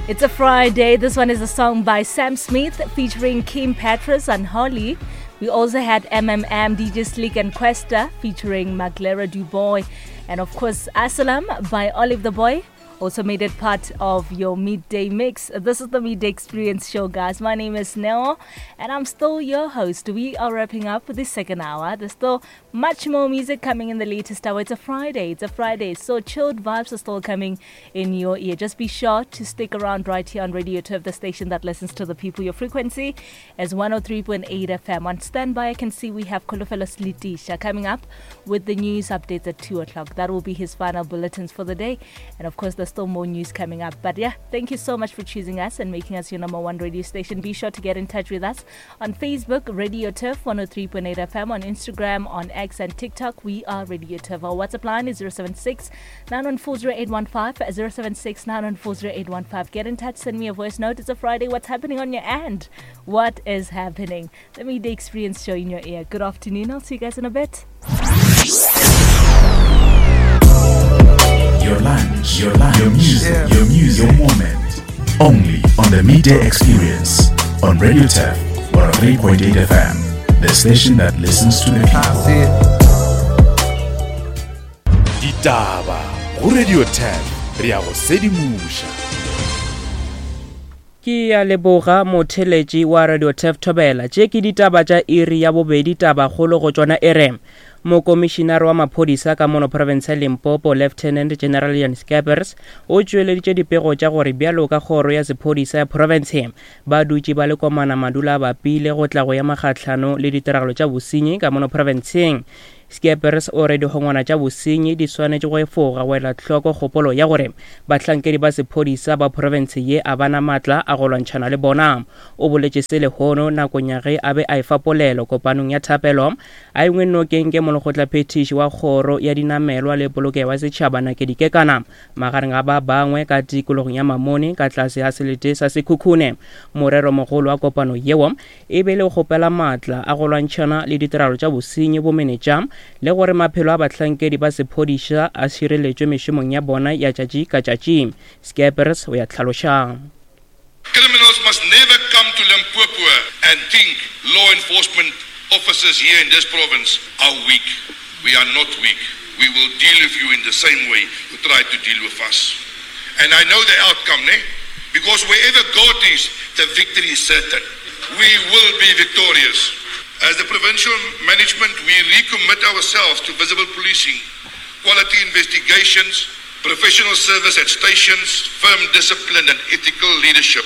It's a Friday. This one is a song by Sam Smith featuring Kim Petras and Holly. We also had MMM, DJ Slick and Kwesta featuring Maglera Duboy. And of course, Asalam by Olive the Boy also made it part of your midday mix. This is the Midday Experience Show, guys. My name is Neo, and I'm still your host. We are wrapping up the second hour. There's still much more music coming in the latest hour. It's a Friday. It's a Friday. So chilled vibes are still coming in your ear. Just be sure to stick around right here on Radio Turf, the station that listens to the people. Your frequency is 103.8 FM. On standby, I can see we have Kolofelo Slitisha coming up with the news updates at 2 o'clock. That will be his final bulletins for the day. And of course, there's still more news coming up. But yeah, thank you so much for choosing us and making us your number one radio station. Be sure to get in touch with us on Facebook, Radio Turf 103.8 FM, on Instagram, on X, and TikTok. We are Radio Turf. Our WhatsApp line is 076 9140815, 076 9140815. Get in touch, send me a voice note. It's a Friday. What's happening on your end? What is happening? The Midday Experience show in your ear. Good afternoon. I'll see you guys in a bit. Your lunch, your lunch, your music, your music, your moment. Only on the Midday Experience on Radio Turf 103.8 FM, the station that listens to the people. Ditaba go Radio Turf re ya go sedimoša. Ke a leboga motheletši wa Radio Turf Thobela. Tše ke ditaba tša iri ya bobedi tabakgolo go tšona e re Mokomišinare wa maphodisa ka mono profense ya Limpopo Lieutenant General Jan Skeepers o tšweleditše dipego tša gore bjalo ka kgoro ya sephodisa ya profense ba dutše ba le komana madula a bapile go tla go ema kgahlano le ditiragalo tša bosenyi ka mono profenseng. Skeepers o re dihongwana tša bosenyi di swanetše go efoga go ela hloko kgopolo ya gore bahlankedi ba sephodisa ba profense ye a ba na maatla a go lwantšhana le bona. O boletše se lehono nakong ya ge a be a efa polelo kopanong ya thapelo A engwe nokeng ke molekgotlaphethiši wa Kgoro ya Dinamelwa le Polokego ya Setšhaba Nakedi Kekana, magareng ga ba bangwe ka tikologong ya Mamone ka tlase ga selete sa Sekhukhune. Moreromogolo wa kopano yeo e be le go kgopela maatla a go lwantšhana le ditiragalo tša bosenyi, bomenetša le gore maphelo a bahlankedi ba sephodisa a šireletšwe mešomong ya bona ya tšatši ka tšatši. Skeepers o ya hlaloša. Criminals must never come to Limpopo and think law enforcement officers here in this province are weak. We are not weak. We will deal with you in the same way you tried to deal with us. And I know the outcome, ne? Because wherever God is, the victory is certain. We will be victorious. As the provincial management, we recommit ourselves to visible policing, quality investigations, Professional service at stations, firm discipline and ethical leadership.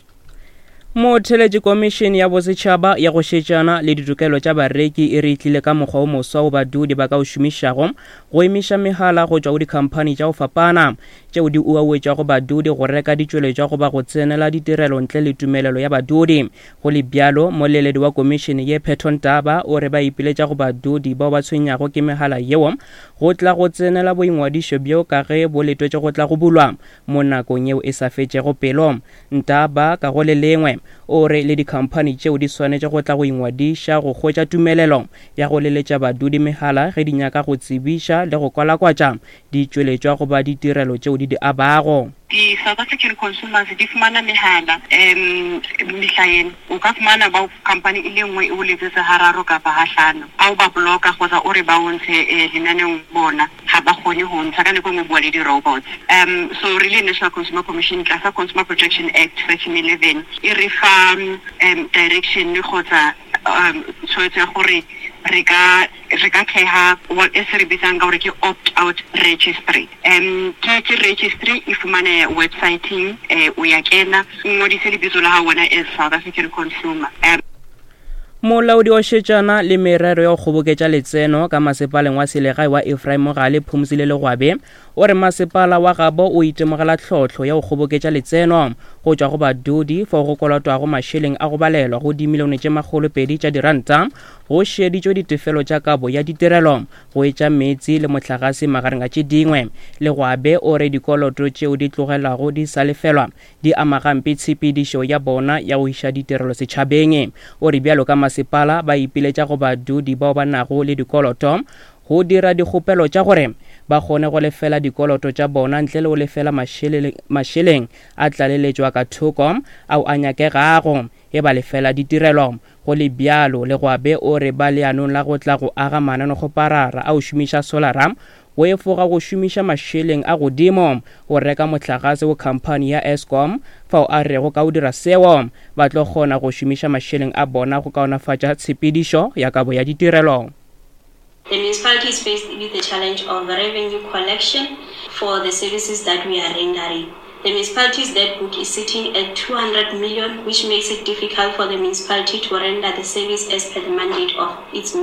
Motheletši Komišene ya Bosetšhaba ya go Šetšana le Ditokelo tša Bareki e re e tlile ka mokgwa o moswa wo badudi ba ka o šomišago go emiša megala go tšwa go dikhamphani tša go fapana tšeo di uauetšago badudi go reka ditšweletšwa goba go tsenela ditirelo ntle le tumelelo ya badudi. Go le bjalo, moleledi wa komišene ye Phetho Ntaba o re ba ipiletša go badudi bao ba tshwenyago ke megala yeo go tla go tsenela boingwadišo bjo ka ge bo letwetše go tla go bulwa mo nakong yeo e sa fetšego pelo. Ntaba ka go le lengwe o re le dikhamphani tšeo di swanetše go tla go ingwadiša go hwetša tumelelo ya go leletša badudi megala ge di nyaka go tsebiša le go kwalakwatša ditšweletšwa goba ditirelo tšeo di di abago. Di South African consumers di fumana mehala um mehla ena. O ka fumana ba company e le nngwe e o letsetsa hararo kapa hahlano. Ha o ba block-a kgotsa o re ba o ntshe eh, lenaneong bona ga ba kgone go ntsha ka nako e nngwe bua le di-robots. Um so re le National Consumer Commission tlasa Consumer Protection Act section 11 e re fa um direction kgotsa um tshwetso ya gore re ka re ka theha what e se re bitsang ka gore ke opt out registry um ke ke registry e fumaneha websiteng eh, o ya kena o ngodise lebitso la hao wena as South African consumer um Molaodi wa šetšana le merero ya go kgoboketša letseno ka masepaleng wa selegae wa Ephraim Mogale Phumzile Legwabe o re masepala wa gabo o itemogela tlhohlo ya go kgoboketša letseno go tšwa go badudi fao go kolotwago mašeleng a go balelwa go dimilione tše makgolopedi tša diranta Go šeditšwe ditefelo tša kabo ya ditirelo go etša meetse le mohlagase magareng a tše dingwe. Legwabe o re dikoloto tšeo di tlogelwago di sa lefelwa di ama gampe tshepedišo ya bona ya go iša ditirelo setšhabeng. O re bjalo ka masepala ba ipiletša go badudi bao ba nago le dikoloto go dira dikgopelo tša gore ba kgone go lefela dikoloto tša bona ntle le go lefela mašeleng a tlaleletšo a ka thoko ao a nyakegago ge ba lefela ditirelo. Go le bjalo, Legwabe o re ba leanong la go tla go aga mananekgoparara a go šomiša solara go efoga go šomiša mašeleng a godimo go reka mohlagase go khamphani ya Eskom, fao a rego ka go dira seo ba tlo kgona go šomiša mašeleng a bona go kaonafatša tshepedišo ya kabo ya ditirelo. The municipality is faced with the challenge of revenue collection for the services that we are rendering. The municipality's debt book is sitting at 200 million, which makes it difficult for the municipality to render the service as per the mandate of its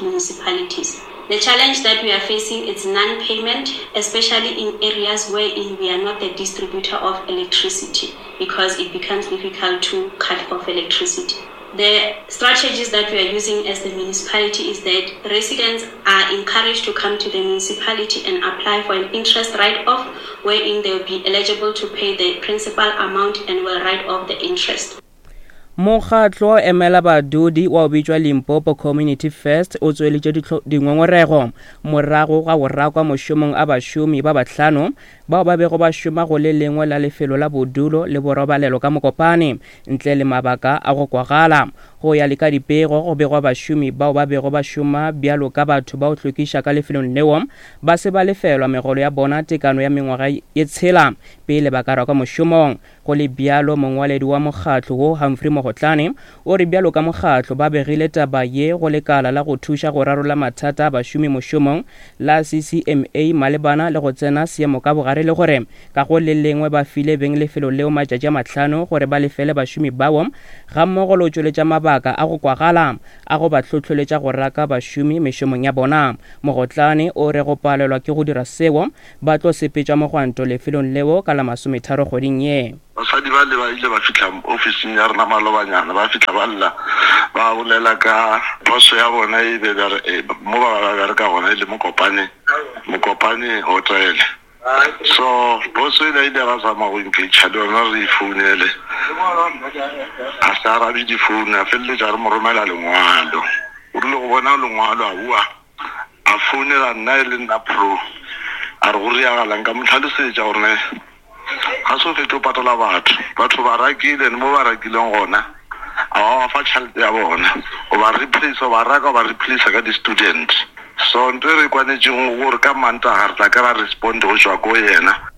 municipalities. The challenge that we are facing is non-payment, especially in areas wherein we are not the distributor of electricity, because it becomes difficult to cut off electricity. The strategies that we are using as the municipality is that residents are encouraged to come to the municipality and apply for an interest write-off, wherein they will be eligible to pay the principal amount and will write off the interest. Mokgatlo wa emela badudi wa o bitšwa Limpopo Community First o tsweleditše dingongorego morago ga go rakwa mošomong a bašomi ba bahlano bao ba bego ba šoma go le lengwe la lefelo la bodulo le borobalelo ka Mokopane ntle le mabaka a go kwagala. Go ya le ka dipego, go begwa bašomi bao ba bego ba šoma bjalo ka batho ba go hlwekiša ka lefelong leo ba se ba lefelwa megolo ya bona tekano ya mengwaga ye tshela pele ba ka rakwa mošomong. Go le bjalo, mongwaledi wa mokgatlo wo, Humphrey Mogotlane, o re bjalo ka mokgatlo ba begile taba ye go lekala la go thuša go rarolla mathata a bašomi mošomong la CCMA malebana le go tsena seemo ka bogare le gore ka go le lengwe ba file beng lefelo leo matšatši a mahlano gore ba lefele bašomi bao gammogo le go tšweletša mabaka a go kwagala a go ba hlohloletša go raka bašomi mešomong ya bona. Mogotlane o re go palelwa ke go dira seo Ba tlo sepetša mogwanto lefelong leo ka la masometharo kgweding ye. Basadi bale ba ile ba fihla ofising ya rena malobanyana, ba fihla ba lla, ba bolela ka poso ya bona e be mo ba ba bereka gona e le Mokopane, Mokopane Hotel. So boso e le ile ra zama go engage le yona re e founele, a se arabe difounu, a feleletša re mo romela lengwalo. O rile go bona lengwalo a bua. A founela nna e le nna Pro, a re go riagalang? Ka mo hlalosetša gore ne ga se o fetše o patala batho, batho ba rakile and mo ba rakileng gona a ba ba fa tšhelete ya bona, o ba replace, o ba raka o ba replace ka di-student. So nto e re kwanetšego gore ka Mantaga re tla kry-a respond go tšwa ko yena.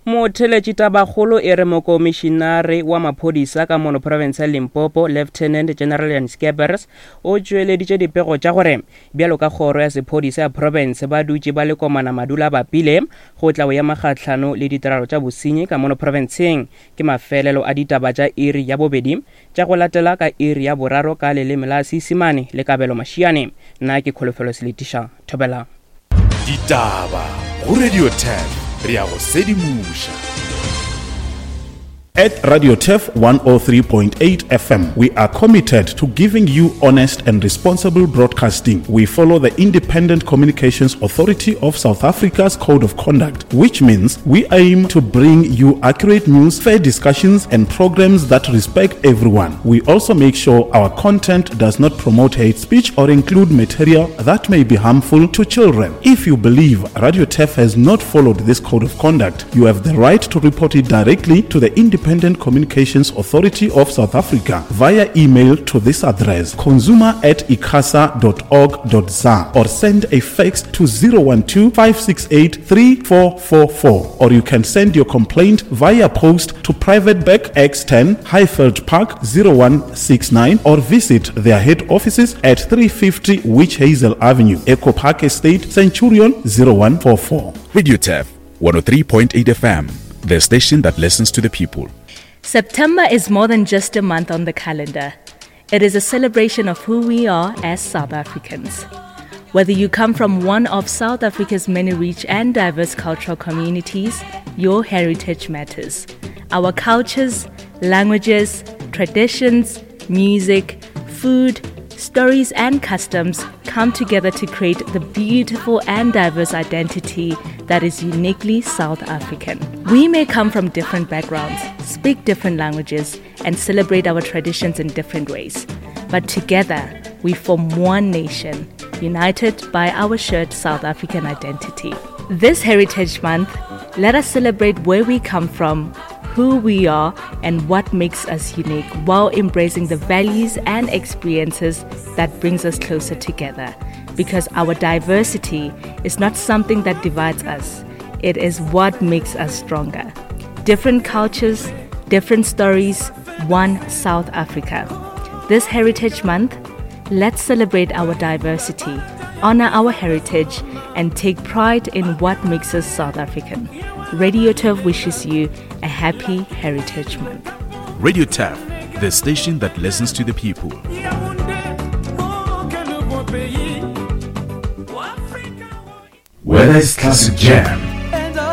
Motheletši tabakgolo e re mokomišinare wa maphodisa ka mono profense ya Limpopo, Lieutenant General Jan Skeppers, o tšweleditše dipego tša gore bjalo ka kgoro ya sephodisa ya profense ba dutše ba le komana madula a bapile go tla go ema kgahlano le ditiragalo tša bosenyi ka mono profenseng. Ke mafelelo a ditaba tša iri ya bobedi tša go latela ka iri ya boraro ka leleme la Seisemane le Kabelo Mashiane. Nna ke Kholofelo Seletiša. Thobela. Ditaba go Radio 10 re ya go sedimoša. At Radio Turf 103.8 FM, we are committed to giving you honest and responsible broadcasting. We follow the Independent Communications Authority of South Africa's Code of Conduct, which means we aim to bring you accurate news, fair discussions, and programs that respect everyone. We also make sure our content does not promote hate speech or include material that may be harmful to children. If you believe Radio Turf has not followed this code of conduct, you have the right to report it directly to the Independent Communications Authority of South Africa via email to this address consumer at icasa.org.za or send a fax to 012 568 3444 or you can send your complaint via post to Private Bank X10 Highveld Park 0169 or visit their head offices at 350 Witch Hazel Avenue, Echo Park Estate, Centurion 0144. Radio Turf 103.8 FM, the station that listens to the people. September is more than just a month on the calendar. It is a celebration of who we are as South Africans. Whether you come from one of South Africa's many rich and diverse cultural communities, your heritage matters. Our cultures, languages, traditions, music, food, stories, and customs come together to create the beautiful and diverse identity that is uniquely South African. We may come from different backgrounds, speak different languages, and celebrate our traditions in different ways. But together, we form one nation. united by our shared South African identity. This Heritage Month, let us celebrate where we come from, who we are, and what makes us unique while embracing the values and experiences that brings us closer together. Because our diversity is not something that divides us, it is what makes us stronger. Different cultures, different stories, one South Africa. This Heritage Month, let's celebrate our diversity, honor our heritage, and take pride in what makes us South African. Radio Turf wishes you a happy Heritage Month. Radio Turf, the station that listens to the people. Whether it's classic jam,